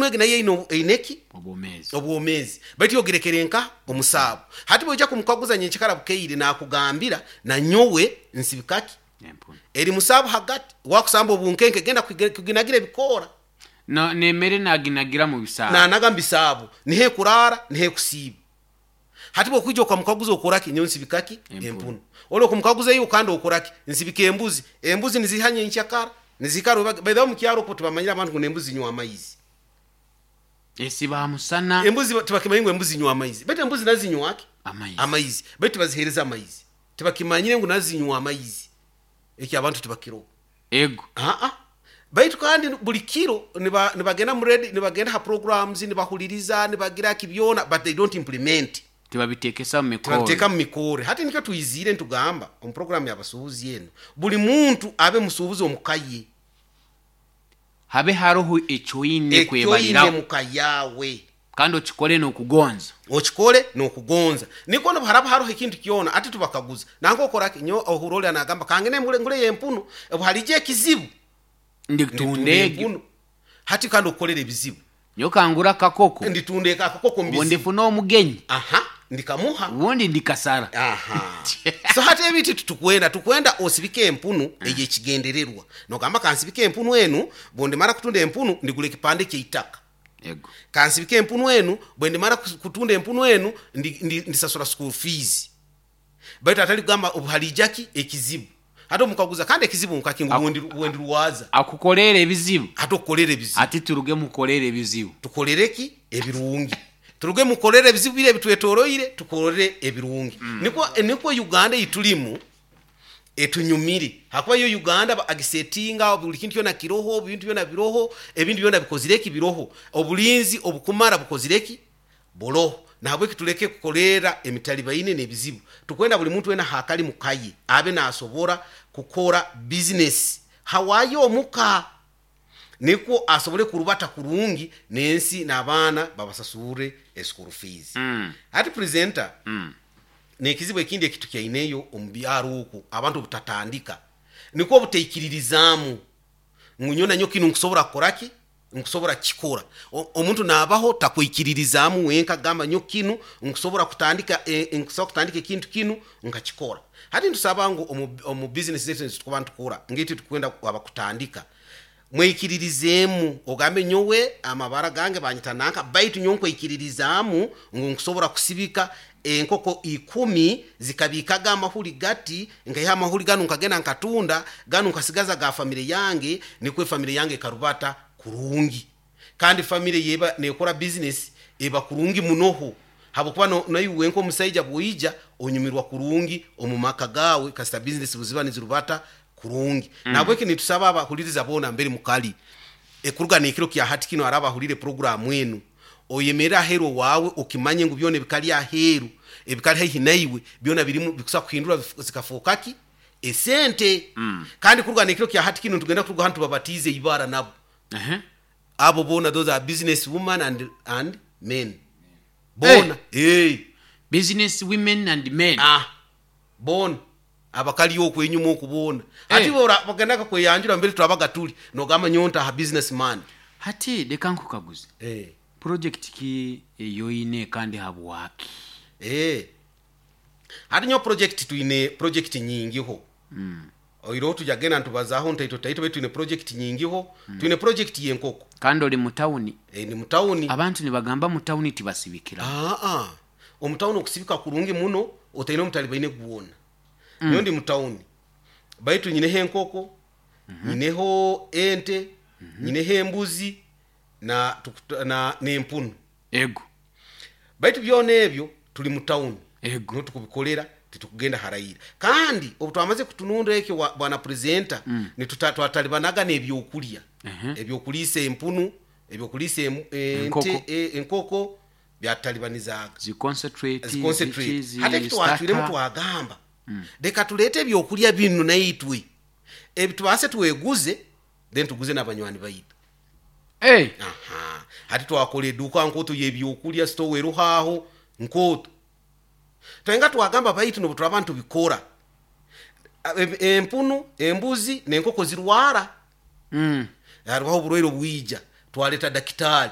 Empunu egi nayo eine ki? Obwomeezi. Obwomeezi. Baitu ogirekere nka omusaabo. Hati bwoija kumukaguza nyenkyakara bukeire, nakugambira, nanyowe nsibikaki? Empunu. Eri musaabo hagati wakusamba obunkenke, genda kuginagira ebikoora. No, n'emere naginagira mu bisaabo. Nanaga mu bisaabo, niho ekuraara, niho ekusiiba. Hati bwokwija okamukaguza, okoraki? Nyowe nsibikaki? Empunu. Empunu. Oli okumukaguza, iwe kandi okoraki? Nsibika embuzi. Embuzi niziha nyenkyakara, nizikara baithaho mukyaro okwo tibamanyire abantu ngu n'embuzi zinywa amaizi. Esiba ha musana. Embuzi tibakimanyire ngu embuzi zinywa amaizi, baitu embuzi nazo zinywa ki? Amaizi. Amaizi, baitu tibazihereza amaizi. Tibakimanyire ngu nazo zinywa amaizi. Eki abantu tibakiroho. Ego. Aa, baitu kandi buli kiro nibagenda mu radio, nibagenda ha programs, nibahuliriza, nibagira ki byona, but they don't implement. Tibabitekesa mu mikoro. Tibabiteeka mu mikore. Hati nikyo twizire ntugamba omu programu y'abasuubuzi enu, buli muntu abe musuubuzi omuka ye. Habe haroho ekyoine ekyoine kwebaliraho. Muka yawe. Kandi okikole n'okugonza. Okikole n'okugonza, niko nobu haraba haroho ekintu kyona, ati tubakaguza, nanka okoraki? Nyo ohura oli anagamba, kangende ngule empunu, obu halija ekizibu nditunda. Nditunda Egyo. Empunu. Hati kandi okukolera ebizibu. Nyo kangura akakoko. Nditunda akakoko Obu mubizibu. ndifuna omugenyi, Aha, ndikamuha. Ubundi ndikasara. Aha, so hati ebintu tukwenda osibike empunu eyekigendererwa, nogamba, kansibike empunu enu, bwendimara kutunda empunu ndigura ekipande kyeitaka. Ego. Kansibike empunu enu, bwendimara kutunda empunu enu ndisasura school fees. Baitu atali kugamba obu halijaki ekizibu, hati omukaguza, kandi ekizibu nkaki? Ngu bwendirwaza. Akukolera ebizibu. Hati okukolera ebizibu. Ati turuge mukolera ebizibu. Tukolere ki? Ebirungi. Turuge mukolere ebizibu biri ebitwetoroire, tukolere ebirungi. Nikwo Uganda eyitulimu etunyumire, hakuba yo Uganda agisetinga, buli kintu kyona kiroho, ebintu byona biroho, ebintu byona bikozire ki? Biroho. Obulinzi obukumara bukozire ki? Buroho. Nahabweki tuleke kukolera emitalibaine n'ebizibu. Tukwenda buli muntu wena hakali mukaye abe nasobora kukora bizinesi hawayo omuka, nikwo asobole kurubata kurungi n'ensi, n'abaana babasasurre eschool fees. Hati presenter, n'ekizibu ekindi eki tukyaineyo omu byaro oku, abantu obutatandika, nikwo obutaikiririzaamu ngu nyowe nanyo kinu nkusobora kukora ki, nkusobora kukikora. Omuntu naabaho takwikiririzaamu wenka kugamba, nyo kinu nkusobora kutandika, nkusobora kutandika ekintu kinu nkakikora. Hati nitusaba ngu omu bizinesi zaitu ezitukuba nitukora, ngaitwe tukwenda abakutandika, mwikiririzeemu, ogambe, nyowe amabara gange banyita nanka, baitu nyowe nkwikiririzaamu ngu nkusobora kusibika enkoko 10 zikabikaga amahuri gati, nkaiha amahuri ganu nkagenda nkatunda ganu, nkasigaza ga famire yange, nikwo efamire yange ekarubata kurungi. Kandi famire yeba nekora bizinesi eba kurungi munoho, habwokuba naiwe wenka omusaija bwoija onyumirwa kurungi omu maka gawe kasita bizinesi buziba nizirubata kurungi. Nahabweki nitusaba abahuliriza boona mbere mukali ekuruga n'ekiro kya hati kino, araba ahulire puroguramu enu, oyemerere aheeru owaawe, okimanye ngu byona ebikali aheeru, ebikali haihi naiwe, byona birimu bikusobola kuhindura zikafooka ki? Esente. Kandi kuruga n'ekiro kya hati kino nitugenda kuruga hanu tubabatiize ibara nabo. Abo boona, those are business women and men boona, hey. Business women and men. Ah, boona abakali oku enyuma oku boona. Hati bagendaga kweyanjura mbere turabaga tuli, nogamba, nyowe ntaha business man. Hati leka nkukaguze. Eh. Project ki eyoine kandi habwaki? Eh. Hati nyowe project, twine project nyingiho. Oiroho tujagenda nitubazaho ntaito taito, baitu twine project nyingiho. Twine project y'enkoko. Kandi oli mu tawuni. Eh, ni mu tawuni. Abantu nibagamba mu tawuni tibasibikira. Aa, omu tawuni okusibika kurungi muno, otaine omutalibaine gwona. Nyowe ndi mu tawuni, baitu nyineho enkoko, nyineho ente, nyineho embuzi na n'empunu. Ego. Baitu byona ebyo tuli mu tawuni. Ego. Niho tukubikolera, titukugenda harayira. Kandi obu twamaze kutununda ekyo, bwana presenter, twatalibanaga n'ebyokulya, ebyokuliisa empunu, ebyokuliisa ente. Enkoko. Enkoko byatutalibanizaaga. Zi concentrate. Ziconcentrate. Ziki, zi Hati eki twacwiremu, starter. Twagamba, leka tuleete ebyokulya binu naitwe ebi tubaase tweguze, then tuguze n'abanywani baitu. Hey. Aha, hati twakora eduuka nkooto y'ebyokulya, store eruhaaho nkooto. Twenga twagamba, baitu nobu turaba ntubikora, empunu, embuzi n'enkoko zirwara. Haribaho oburwaire obwija, twaleta dakitaali.